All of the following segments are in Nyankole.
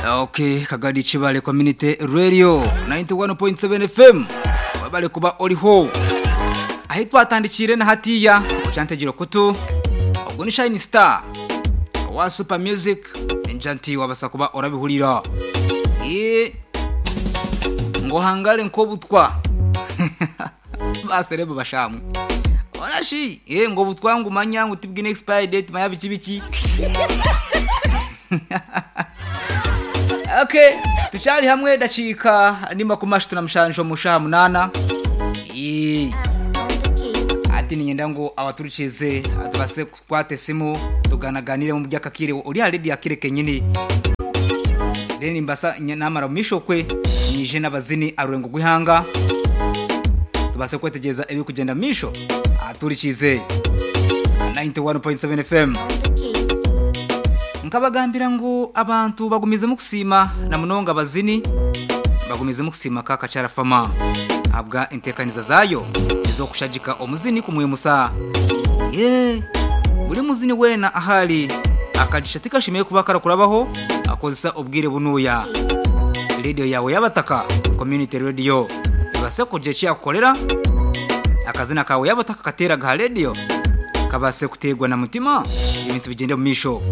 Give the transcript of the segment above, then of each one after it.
Okay, Kagadi Kibale Community Radio 91.7 FM. Wabale kuba oriho. Ahi twatandikire na hatiya ochantegire kutu. Ogwo ni Shine Star wa Super Music enjanti wabasa kuba orabihurira. Ye ngo hangare nkobutwa. Baserebo bashamwe. Orashi, ye ngo butwa ngo manya ngo tibwine expire date maya biki biki. Okay, tucyari hamwe dacika nimba ku mashi tunamushanjo mushaha munana. Ee. Ati ninyenda ngo abaturukize atubase kwate simu tuganaganire mu byakakire uri already akire kenyini. Then mbasa namara mishokwe nije n'abazini arurengo gwihanga. Tubase kwetegeza ebi kugenda misho aturikize 91.7 FM. Nkabagambira ngo abantu bagumizemo kusima na munonga abazini bagumizemo kusima kaka carafama abwa intekaniza zayo izo kushajika omuzini kumwimusa ye buri muzini wena ahali akajisha tikashimiye kuba karakurabaho akozesa obwire bunuya radio yawe yabataka community radio ibase kuje cyakorera akazina kawe yabataka katera ga radio kabase kutegwa na mutima ibintu bigende mu misho.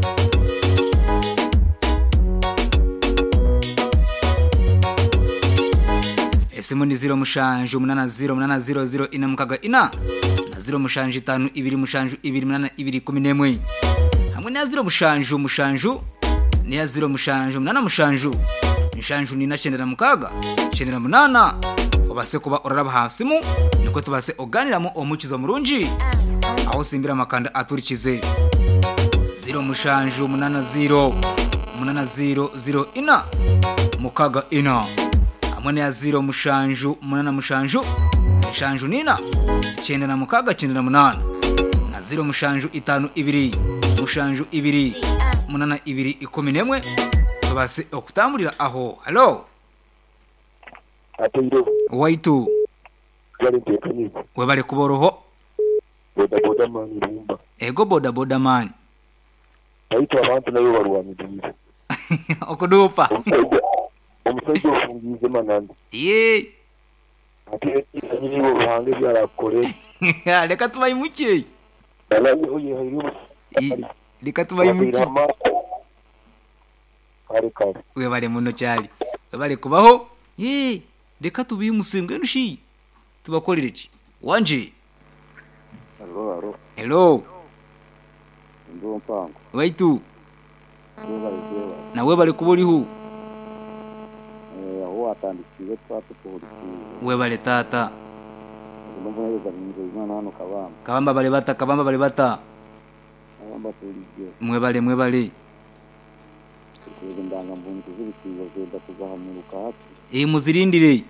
Esimu ni 0 mushanju 8 0 8 0 0 ina mukaga ina na 0 mushanju 5 2 mushanju 2 8 2 11 hamwe na 0 mushanju mushanju ni ya 0 mushanju 8 mushanju mushanju ni na cendera mukaga cendera munana obase kuba oraraba hasimu niko tubase oganiramo omukizo murungi aho simbira makanda aturikize 0 mushanju 8 0 8 0 0 ina mukaga ina hamwe ya 0 mushanju 8 mushanju mushanju nina 9 6 98 na 0 mushanju 5 2 mushanju 2 8 2 11 tubase okutambulira aho. Hello Ateiro waitu webale kuboroho boda boda man rumba ego boda boda man baitu abantu nayo barwaniriye okudupa omusajja ofungize manani ye ate nyiribo ruhange byarakore reka tubayimuke reka tubayimuke webale muno cyali webale kubaho ye reka tubimusembwe nushi tubakorere ki wanje. Hello hello hello ndo mpango waitu nawe bali kuburiho aho watandikiye twatukuhurikiye webale tata kabamba kabamba bale bata kabamba bale bata kabamba tuliye mwebale mwebale ndanga mbuntu zibitiyo zenda kuzahamuruka hati eh muzirindire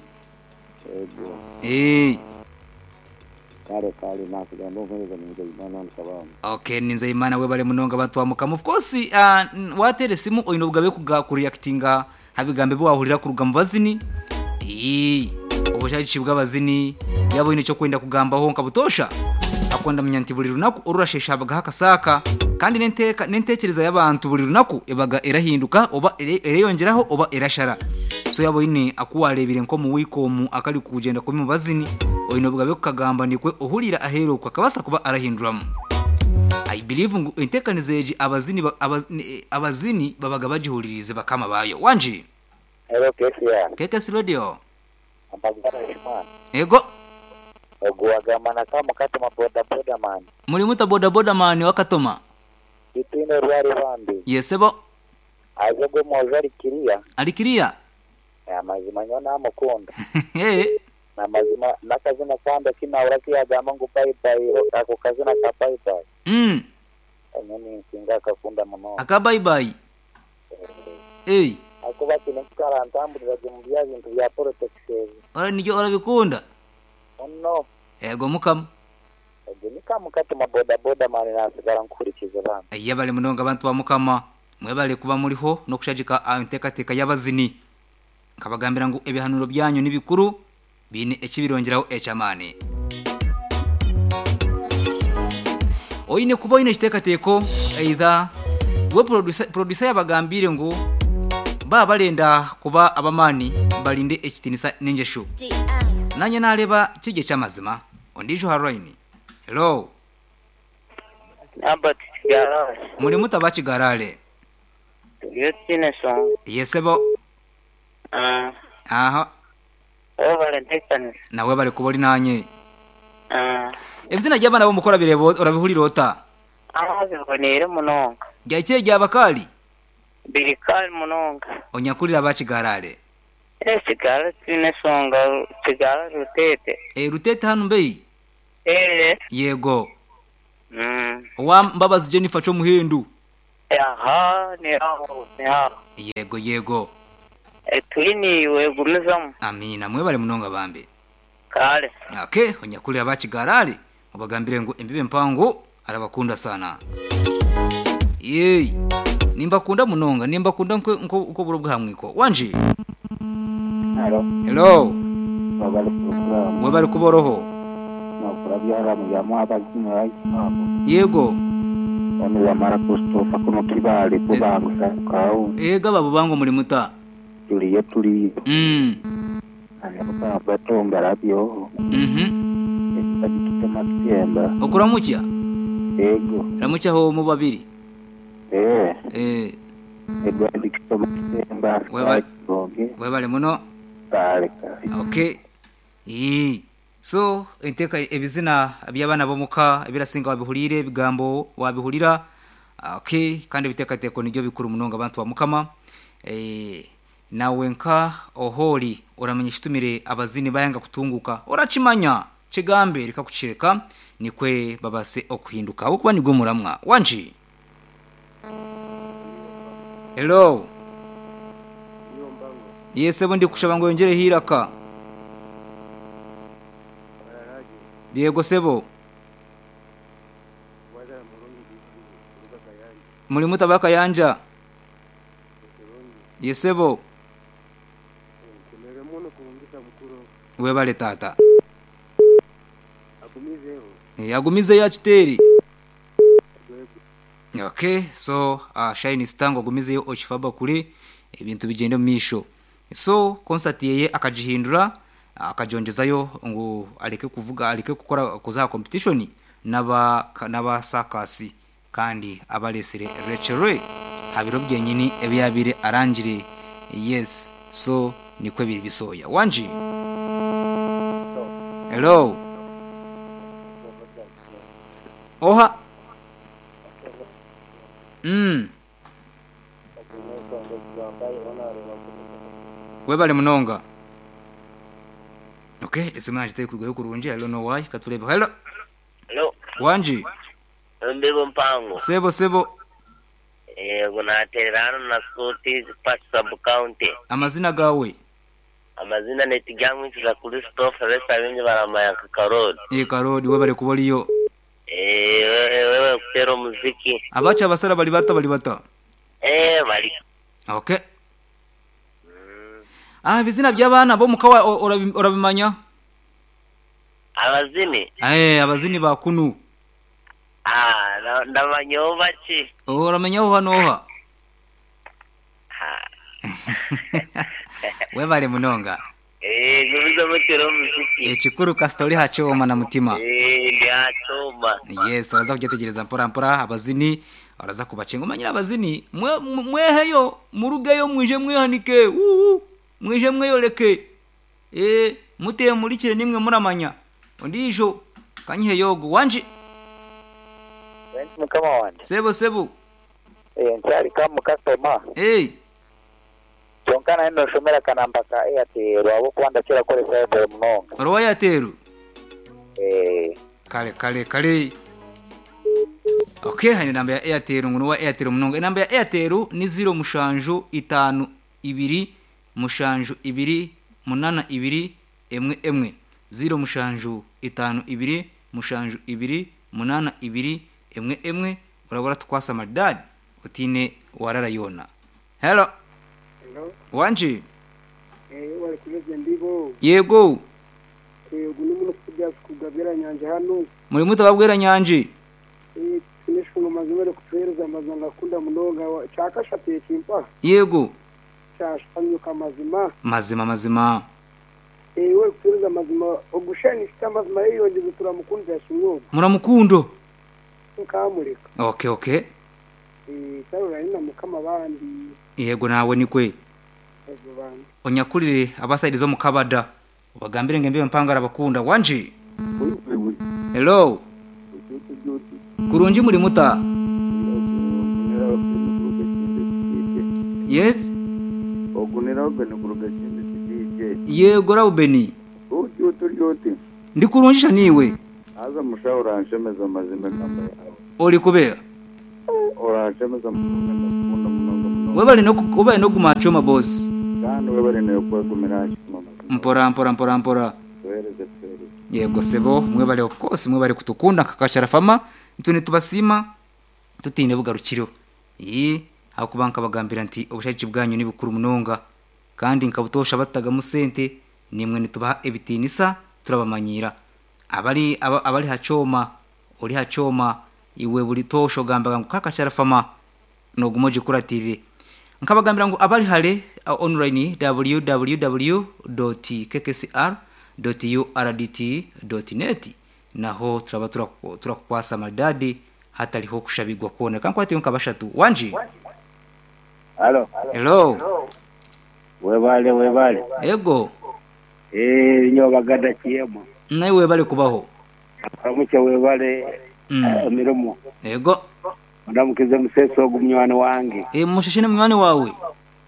ego eh kare kare nakugamba nkoreza Nzeyimana hano kabamba. Okay Nzeyimana webale munonga batwamuka of course watere simu oyino bugabe kuga kureactinga habigambe bo wahurira ku rugamba bazini eh obushaji bw'abazini yabo ine cyo kwenda kugambaho nkabutosha akonda munyanti buri runaku orurashesha abaga hakasaka kandi nenteka nentekereza y'abantu buri runaku ebaga erahinduka oba ereyongeraho oba erashara so yabo ine akuwarebire nko mu wikomu akali kugenda kumi mu bazini oyino bugabe kukagamba nikwe ohurira ahero kwakabasa kuba arahinduramo. I believe ngo entekanizeje abazini abazini babaga bagihuririze bakama bayo wanje. Hello KCR KKS Radio ambagara Imana ego oguwagamana kama katoma boda boda man muri muta boda boda man wakatoma itine rwari bambi yesebo aje go moja alikiriya alikiriya amazima nyo namukunda eh namazima nakazina kanda kinawura kiyagamba ngo bye bye ako kazina ka bye bye nyoni nsinga akakunda muno aka bye bye eh ako bakine kukarantambulira mu bya bintu bya protection ora nijyo orabikunda no ego mukama ego nikamu katuma boda boda mani nasigara nkurikiza bana yabale munonga abantu wa mukama mwebale kuba muriho no kushajika entekateka y'abazini nkabagambira ngo ebihanuro byanyu nibikuru bine ekibirongeraho echamani oyine kuba oyine kitekateko either we producer yabagambire ngo Baba barenda kuba ab'amaani barinde ekitiinisa n'engyesho. Naanye naareeba kiri eky'amazima. Ondiijo aha rayini. Hello. Albert Kigarale. Muri muta aba Kigarale? Turiyo tutaine nshonga. Ye sebo. Aha. Webale ntekanisa. Na webale kuba ori naanye. Ebizina by'abaana b'omuka orabireeba orabihurira ota? Aa biboneire munonga. Ryahikire ryaba kaari? Biri kaari munonga. Onyakurira aba Kigarale. Eh Kigarale titwine nshonga Kigarale Ruteete. Eh Ruteete hanu mbehi? Eh. Yego. Owa Mbabazi Jennifer Kyomuhendo. Aha ni aho ni aho. Yego yego. Turi naiwe gumizamu. Amiina mwebale munonga bambi. Kare. Okay, onyakurira aba Kigarale obagambire ngu embibo empango arabakunda sana. Yeyi nimbakunda munonga nimbakunda nk'oburo bw'aha mwiko. Wangi? Halo. Hello. Webale program. Webale kuba oroho. Nokora byaramu bya mwabazini abo. Yego. Onu wamara Christopher kuno Kibale Bubango Kawu. Ega babo bango muri muta. Turiyo turiyo. Batonga rabyo. Ekitema kitemba. Okuramukya? Yego. Ramukya ho mu babiri. Eh. Eh. Edward Kitoma Kitemba. Webale. Webale muno. Kale kale. Okay. Ii. So enteka ebizina by'abaana b'omuka ebirasinga wabihuriire ebigambo wabihurira. Okay, kandi ebiteekateeko nibyo bikuru munonga abantu ba Mukama. Eh, nawe nka ohori oramanya ekitumire abazini bayanga kutunguka. Orakimanya kigambe reka kukireka nikwe babase okuhinduka. Ahabw'okuba nigwo muramwa. Wangi. Hello. Yes, sebo ndikushaba ngu oyongyereho eiraka. Yego sebo. Muri muta aba Kayanja? Ye sebo. Webale taata. Agumizeyo akiteere. Okay, so Shine Star ngu agumizeyo okifaba kure ebintu bigyende omu maisho. So concert yeye akagihindura akagyongyezayo ngu areke kuvuga areke kukora kuza aha competition naba naba circus kandi abaresire Rachel Ray aha biro byenyini ebi yabaire arangire yes so nikwo biri bisooya. Wangi? Hello? Oha? Mm. Webale munonga. Okay, esimu yangye terikurugayo kurungi, I don't know why. Katureebe. Hello. Hello. Wangi. Embibo mpango. Sebo sebo. Yego naterera hano na Suti Park sub county. Amazina gawe. Amazina ni Tiryamwinsiza Christopher besi abingi baramanya nka Karoli. Eh Karoli webale kuba oriyo. Eh webale kutera omuziki. Abacu abasara bari bata bari bata? Eh bari. Okay. Ah ebizina by'abaana b'omuka orabimanya? Abazini? Eh abazini ba kunu. Ah ndamanyaho bakye. Oramanyaho oha n'oha? Webale munonga. Eh gumizamu otere omuziki. Ekikuru kasita ori aha kyoma na mutima. Eh ndi aha kyoma. Yes oraza kugyetegyereza mpora mpora abazini oraza kubakyenga omanyire abazini mweheyo murugeyo mwije mwehanike wuuu mwije mweyoreke eh mutemurikire nimwe muramanya ondiijo kanyiheyo ogu wangi. Thanks mukama wangye. Sebo sebo. Eh nkyari kamu kasitoma. Eh. Kyonka nayo noshomera akanamba ka Airtel ahabw'okuba ndakira kukoresa Airtel munonga. Ori owa Airtel? Eh. Kare kare kare. Okay haine enamba ya Airtel ngu nowa Airtel munonga. Enamba ya Airtel ni ziro mushanju itaano ibiri mushanju ibiri munana ibiri emwe emwe. Ziro mushanju itaano ibiri mushanju ibiri munana ibiri emwe emwe oraba oratukwasa maridadi otiine warara yoona. Hello. Hello. Wangi. Eh, wari kumeze ndibo. Yego. Eh, ogu n'omuntu kuja kugabira nyanje hano. Muri muta babwera nyanje. Eh, tuneshunga mazima kutuhereza amazima ngakunda munonga kyakashatu ekimpa. Yego. Kyashanyuka mazima. Mazima mazima. Iwe orikutuhereza amazima ogu shani shiti amazima yeyongyeze turamukundira kimwe ogu. Muramukundo. Nkamureka. Okay okay. Karora na mukama bandi. Yego nawe nikwe. Yego bandi. Onyakurire abasaidizo mukabada. Ubagambire ngembe mpangara bakunda wanji. Hello. Kurungi muri muta. Yes. Ogunira obeni kuruga kindi kidije. Yego Raubeni. Uti uturi uti. Ndi kurungisha niwe. Aza musha uranshemeza mazima gamba yawe. Ori kubera. Uranshemeza munonga munonga munonga. Webale no kuba no gumachoma boss. Kandi webale no kwegumira choma. Mpora mpora mpora mpora. Tuhereze tuhereze. Yego sebo mwebale of course mwebale kutukunda kakashara fama itune tubasima tutine bugarukiro. Yi hakubanka bagambira nti obushaki bwanyu ni bukuru munonga kandi nkabutosha bataga musente nimwe nitubaha ebitinisa turabamanyira abali abali hachoma ori hachoma iwe buli tosho gambaga ngo kakashara fama no gumoje kuratire nkabagambira ngo abali hale online www.kkcr.urdt.net naho turaba turakwasa madadi hatariho kushabigwa kuona kankwati nkabashatu wanji. Halo. Hello. Webale webale. Ego. Nyo bagada kiyemo. Nawe webale kubaho. Aramuke webale mirimo. Ego. Ndamukize museso ogumnywana wange. Mushishine mnywani wawe.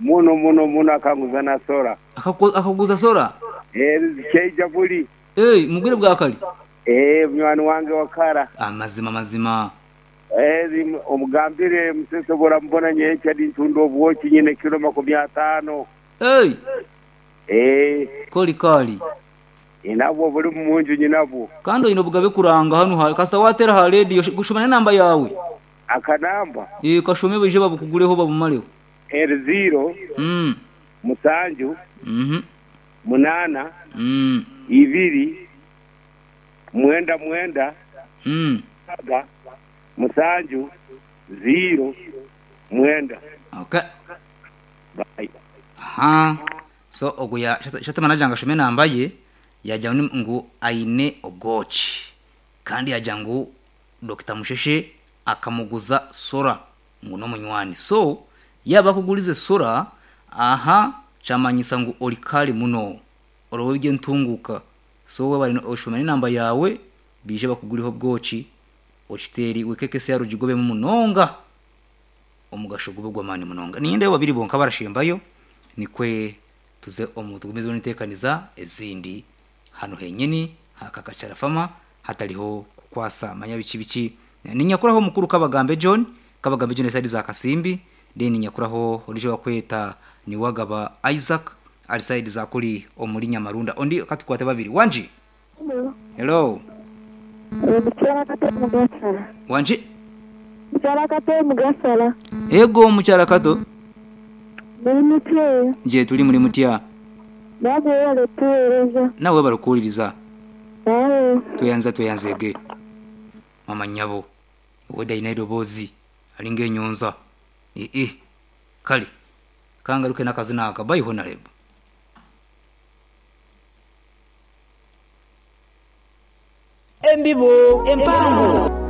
Muno muno muno akanguza na sora. Akakuguza sora? Keija buli. Mugire bwakali. Mnywani wange wakara. Amazima mazima. Omugambire museso bora mbona nyecha dintundo obwoki nyine kilo 50. Koli kali. Inabwo buli munju nyinabwo. Kando ino bugabe kuranga hano ha kasa watera ha radio gushumana namba yawe. Akanamba. Kashome bije babukuguleho babumaleho. 0 Musanju. 8 2 9 9 7 0 9. Okay. Bye. Aha. So oguya shatamana janga shume namba ye yaja ngu aine ogochi. Kandi yaja ngu Dr. Musheshe akamuguza sora ngu no munywani. So yaba kugulize sora aha chamanyisa ngu olikali muno. Orowebye ntunguka. So we bari oshumane namba yawe bije bakuguliho bwochi ochiteri wekekese ya rujigobe munonga omugasho gube gwamani munonga ninde babiri bonka barashembayo nikwe tuze omutugumizo nitekaniza ezindi hano henyeni hakakacara fama hatariho kukwasa manya biki biki ninyakuraho mukuru kabagambe John kabagambe John side za Kasimbi then nyakuraho orije wakweta ni wagaba Isaac ali side za kuri omuri Nyamarunda ondi katukwate babiri wanji. Hello. Hello. Wanji. Mukyala Kato Mugasala. Ego mukyala Kato. Muri mutya. Je tuli muri mutya. Nawe wale Nawe barukuliriza. Tuyanza tuyanzege. Mama nyabo. Weda inaidobozi alinge nyonza. Kali. Kangaruke nakazina akabayi honorable. Embibo, empango.